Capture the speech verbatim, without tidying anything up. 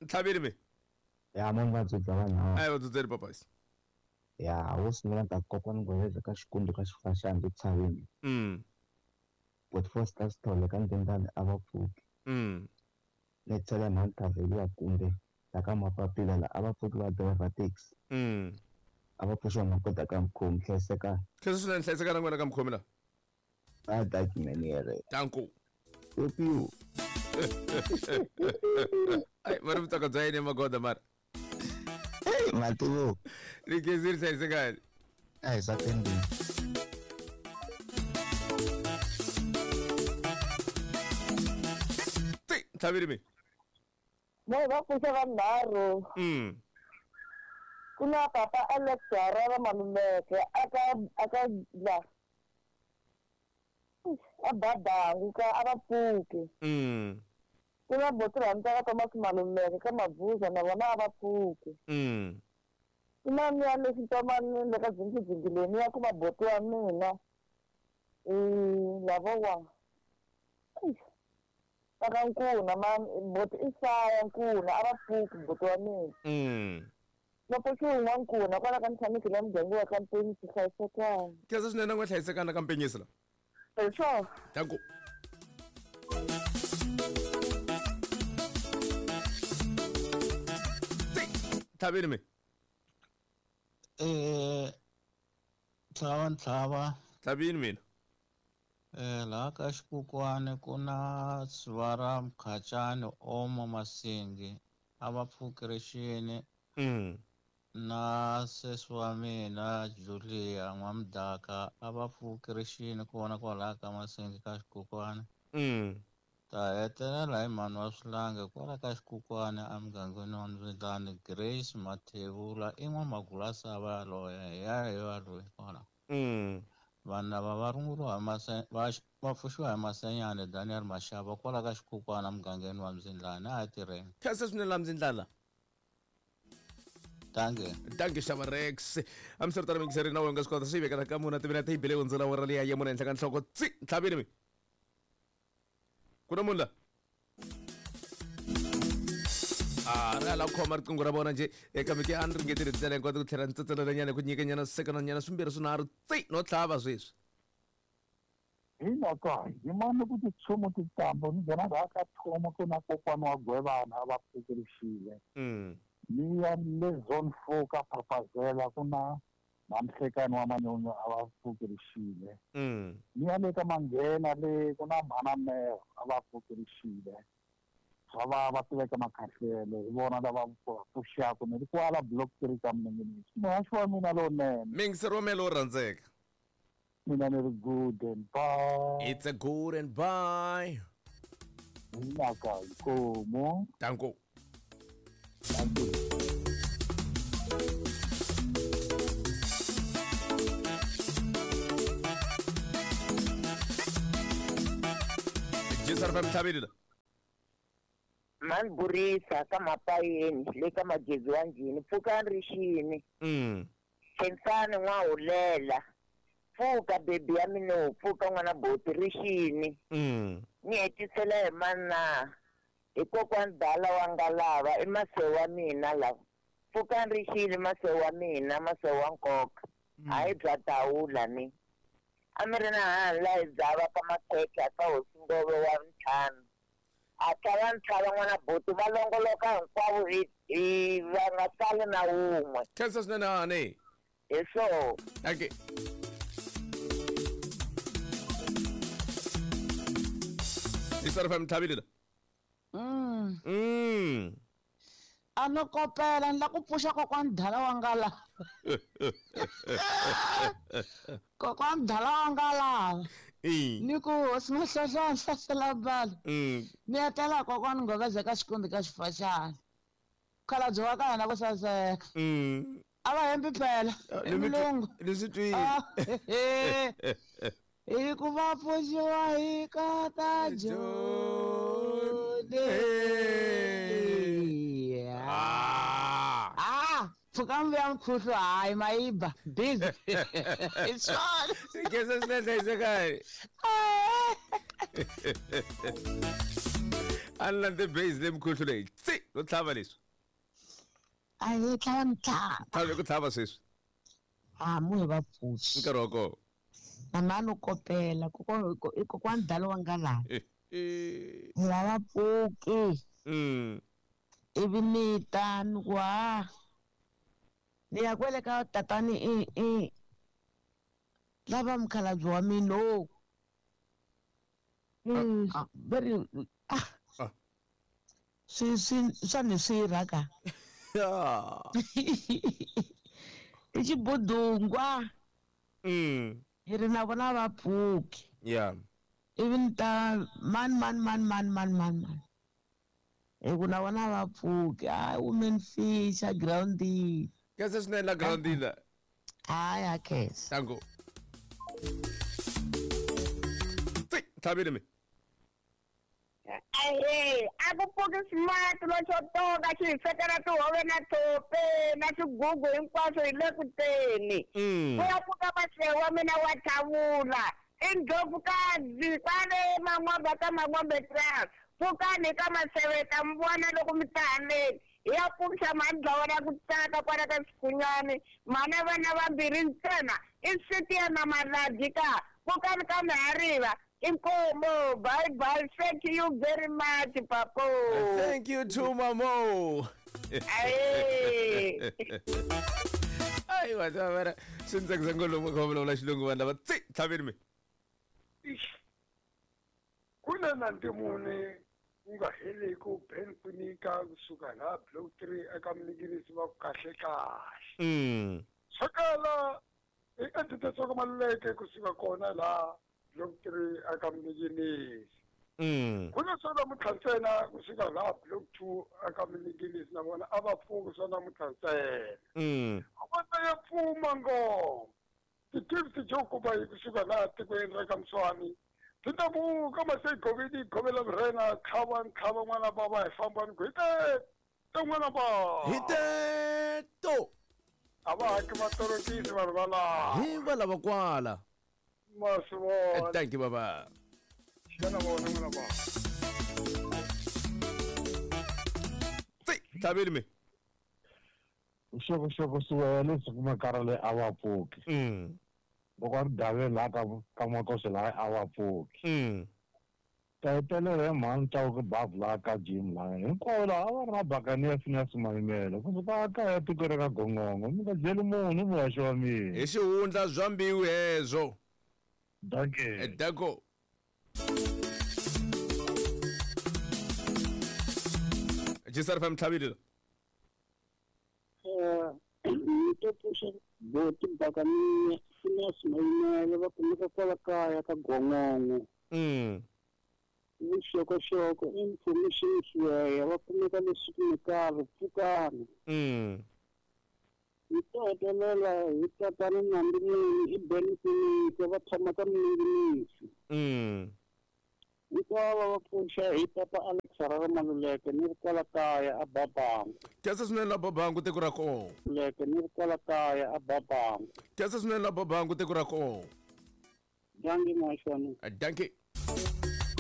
Ntlhavini mi ya mo nga dzudza vanhu a hi va dzudzeli papasi ya wo sungula ta kokwani Ngweza ka Xikundu ka Xifaxani le Tshaveni mm but Foster Sithole ka Ndendani a va pfuki mm ni tsela mhanthaveliwa kumbe la ka mapapila la a va pfuki va driver taxi mm a va pfuxiwa makoda ka mukhomi hlayiseka khensa swinene hlayiseka na n'wina ka mukhomi la a document yere danko upiu ai mara vutsaka bya yini magoda mara hey mativo ri khensile hlayisekani a hi satendini ti ntlhavini mi mo va pfuxa vanharhu mm ku na papa Alex Harara Maluleke aka aka la a babangu ka a va pfuki mm ku na boti rhandza ka Thomas Maluleke ka Mabuza na vona a va pfuki mm ku na miya lexi tomani le ka dzingidzingi ya ku maboti wa mina i lavowa aka Nkuna ma boti i Saya Nkuna a va pfuki boti wa mina mm loko xi wun'wa Nkuna kwala ka ntshamiki la muganga wa ka Mpenyisi hlayisekani khensa swinene n'we hlayisekani ka Mpenyisi la hi swona danko ti ntlhavini mi Eh tlhava ntlhava ntlhavini mina eh laha ka Xikukwani ku na Sivara Mkhacani Omo Masingi a va pfuki rixini mm na sesi wa mina Julia N'wamdaka a va pfuki rixini kona kwalaha ka Masingi ka Xikukwani mm ta hetelela hi mhani wa Swilange kwala ka Xikukwani emugangeni wa Ndzwindlani Grace Mathebula i n'wamagulasava yaloye hi ya hi yaloye kwala mm vanhu lava va runguriwa hi mase va va pfuxiwa hi Masenyane Daniel Mashava kwala ka Xikukwani emugangeni wa Mzindlani a hi tirheni khensa swinene la Mzindlana danke danke xava Rex hambiswiritano mingiseri na wena nga swi kota swi vekela ka muna timinete yi bele hundzela wora liya ya mune henhla ka nhloko tsi ntlhavini mi ku na munhu la a ri ala ku khoma riqingho ra vona njhe kambe ke a ni ringetile tindlela hinkwato ku tlhela ni tsetselelanyana hi ku nyikanyana swisekananyana swimbirhi swinharhu tsi no tlhava sweswi hi naka hi mani ku titshumu titambo ni nghena laha ka thomo ku na kokwana wa Gwevana a va pfukerixile mm ni ya le zone four ka Phapazela ku na Mamhlekani wa Manyonyo a va pfukerixile mm ni ya le ka Manghena le ku na Mhana Mero a va pfukerixile swa va va tiveka makhahlele hi vona lava pfuxaka ni ri kwala block three ka Mninginisi muhaxi wa mina lowunene mingiseri wa mina lowo rhandzeka mina ni ri good and bye it's a good and bye naka inkomo danko thank you Jisar fm ntlhavini la mani burisa ka mapayeni le ka magezi wa njhini pfukani rixini mm khensani n'wahulela pfuka bebi ya mina pfuka n'wana boti rixini mm ni hetisela hi mana hi kokwani dala wa ngalava i masewu wa mina lava pfukani rixini masewu wa mina masewu wa nkoka hayi bya tawula ni a mi ri na hani la hi dzava ka makhekhe ka hosi Ngove wa ntlhanu a tlhava ntlhava n'wana boti va longoloka hinkwavo hi hi va nga sali na wun'we khensa swinene hani hi swoho danke Jisar fm ntlhavini la Mm. mm A no kopela ni la ku pfuxa kokwani dala wa ngalava kokwani dala wa ngalava i ni ku hosi Mahlohlwana hlasela bala mm ni etela kokwani Ngweza ka Xikundu ka Xifaxani khalabye wa ka hina ku saseka mm a va hembi phela i mulungu ni swi twile Ah, hi ku va pfuxiwa hi kata Joni ah ah pfuka mvuya mkhuhlu hayi mayiba busy it's swona khensa swinene hlayisekani A ni landze base leyi mukhuhlu leyi tsi no tlhava leswi. A hi tlhava mitlhava. Tlhava ku tlhava sweswi. A mu hi va pfuxi. Nkarhi wa kona. Mama no kopela i kokwani dalo wa nga laha. Hi lava pfuki. Mm. Ivi ni ta ni ku ha ni ya kwele ka tatani i i lava mukhalabye wa mina o. Very ah. Swi swi swa ni swi rhaka. I xibudungwa. Mm. Hi ri na vona va pfuki. Yeah. Ivi ni ta man man man man man man man. Hi ku na vona va pfuki. Hayi women fish a groundini. Khensa swinene la groundini la. Hayi a khensa. Tango. Tsi, tlhavile mi. Ahe, a ku pfuki smart lo xo toka xi hi swekela tihove na thophe na swigugu hinkwaswo hi le ku teni. Ku ya pfuka masewu wa mina wa thavula. I ndlopfukazi kwale Man'wombe ka Man'wombe Trust. Pfukani ka maseve ta mi vona loko mi ta haleni. Hi ya pfukisa mhani dlawa ra ku tsaka kwala ka Xikhunyani. Mhana vana vambirhi ntsena i siti ya na Maladzi ka. Pfukani ka Mihariva. Inkomo, bye bye. Thank you very much, Papo. Thank you too, Mamo. Aye. Ay, whatever. Swi ndzi tsakisa ngopfu loko va vulavula xilungu vanhu lava tsi tlhaveni mi. Ku na na ntimuni wu nga heliku Ben Kwinika kusuka laha block three eka Mninginisi va ku kahle kahle. Mm. Swakala i Edith Maluleke kusuka kona laha block three eka Mninginisi. Mm. Ku na swa namuntlha ntsena kusuka laha block two eka Mninginisi na vona a va pfuki swa namuntlha ntsena. Mm. A va ya pfuma ngoma. Ti-gift jo kuba hi kusuka laha tikweni ra ka Mswani. Ti ta vuka mase govini govela murhena tlhava ntlhava n'wana bava hi famba ni ku hi te n'wana bava. Hi teto. A va haki matorokisi vanhu va laha. Hi va lava kwala. Ma swi vona. Thank you baba. Xana vona n'wana bava. Tsi, tlhaveni mi. Vuxokoxoko swi leswi kumekaka le a va pfuki. Mm. Loko a ri daveni laha ka ka Makosi laha a va pfuki. Mm. Ta hetelela hi mhani Chauke bavu laha ka gym laha hinkwavo laha a va ri na bakani Phineas Maimela kusuka kaya tiko ra ka Gongongo mi nga byeli munhu muhaxi wa mina. Hi xihundla bya mbilu hezwo. Dankie. Danko. Jisar fam tlhavile. Eh, ni to pfuxa boti bakani Phineas Maimela va kumeka kwala kaya ka Gongongo. Mm. Vuxokoxoko information swiya va kumeka leswi kumekaka pfukani. Mm. Hi to hetelela hi tatana Nandimuni i Ben Kwinika va tshama ka Mninginisi. Mm. Hinkwavo va pfuxa hi papa Alex Harare Maluleke ni ri kwala kaya a Babangu. Khensa swinene la Babangu tiko ra kona. Leke ni ri kwala kaya a Babangu. Khensa swinene la Babangu tiko ra kona. Dankie muhaxi wa mina. Dankie.